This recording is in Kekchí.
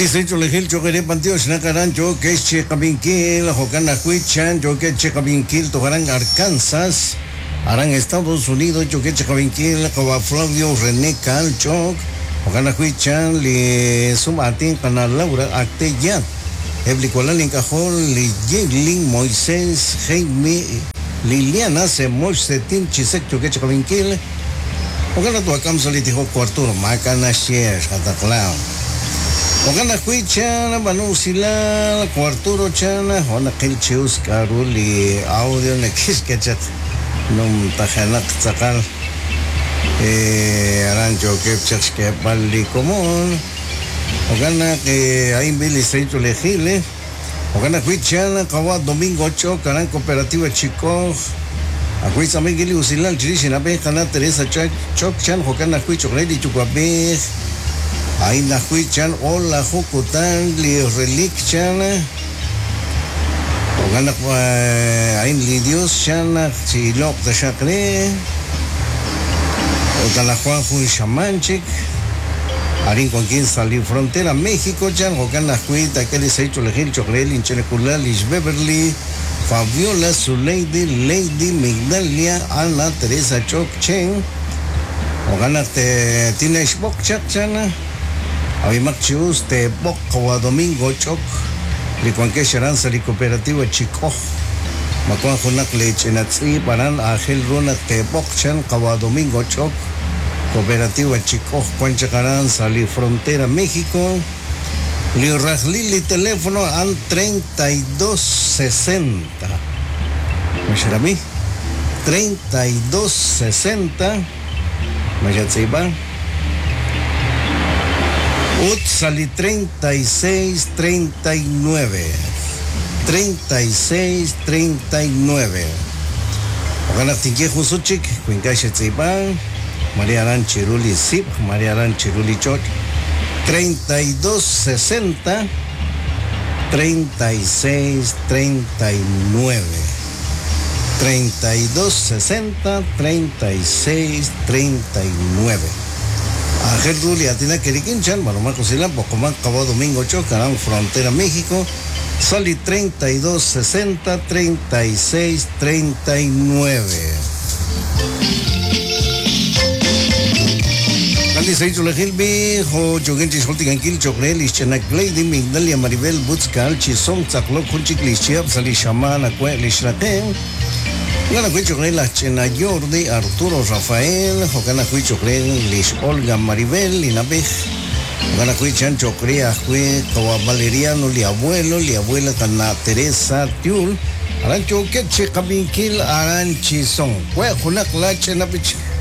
Li sahil ch'oolejil cho'q eere b'antiox naq aran yookex chi qab'inkil, jo'kan ajwi' chan yookeb' chi qab'inkil toj aran Arkansas, aran Estados Unidos yookeb' chi qab'inkil qawa' Flavio René Caal Ch'ok, jo'kan ajwi' chan li sum aatin qana' Laura Acté Yat, eb' li walal ink'ajol li Jaylin, Moisés, Jaime, Liliana, Semox, Setin, Chisek yookeb' chi qab'inkil. Jo'kan naq twak'am sa' li tijok Arturo, maak'a' naxye xqataqla. Jo'kan ajwi' chan b'aanu usilal jo' Arturo chan, jo' naqil chi us k'a'ru li audio neke'xk'e chaq numtajenaq tz'aqal. Aran yookeb' chaq xk'eeb'al li komon. Jo'kan naq a'in b'i' li sahil ch'oolejil. Jo'kan ajwi' chan qawa' Domingo Ch'ok aran Cooperativa Chikoj. Ajwi' tz'amenkil li usilal chirix li na'b'ej qana' Teresa Ch'ok chan jo'kan ajwi' cho'q re li yuwa'b'ej. A'in ajwi' chan o'laju kutan li relik chan. Jo'kan naq a'in li Dios chan naq chi'iloq taxaq re. Ut anaqwan jun xamaan chik. Arin wankin sa' li frontera México chan jo'kan ajwi' taak'e li sahil ch'oolejil cho'q re linch'inak'ulal lix Beverly, Fabiola, Zuleidy, Lady, Migdalia, Ana, Teresa Ch'ok, Chen. Jo'kan naq tine'xb'oq chaq chan. Ab'imaq chi us teeb'oq qawa' Domingo Ch'ok li wankex aran sa' li Cooperativa Chik'oj. Ma wank junaq li ch'ina tz'iib' aran aajel ru naq teeb'oq chan qawa' Domingo Ch'ok. Cooperativa Chik'oj wan chaq aran sa' li frontera México. Li rajlil li teléfono a'an 32 60. Ma xerab'i? 32 60. Ma xatz'iib'a? Ut sa' li 36 39. 36 39. Jo'kan naq tinye jun sut chik, wi ink'a' xetz'iib'a, mare aran chiru li sib'j, mare aran chiru li ch'och'. 32 60 36 39. 32 60 36 39. Aajel ru li aatinak eerik'in, chan b'anomaq usilal, b'oqomaq qawa' Domingo Ch'ok aran Frontera México, sa' li 32 60 36 39. Li sahil ch'oolejil b'i jo' yookeb' chixjultikankil cho'q re li xch'ina Glady Migdalia Maribel Butzkal chi son tz'aqlok jun chik li xchihab' sa' li xamaan awe' li xraqe'. Jo'kan ajwi' cho'q re laj ch'ina Jordi Arturo Rafael, jo'kan ajwi' cho'q re li xOlga Maribel li na'b'ej. Jo'kan ajwi' chan cho'q re ajwi' qawa' Valeriano li abuelo, li abuela qana' Teresa Tiul, aran yookeb' chi qab'inkil aran chi son. We' junaq la ch'ina b'ich.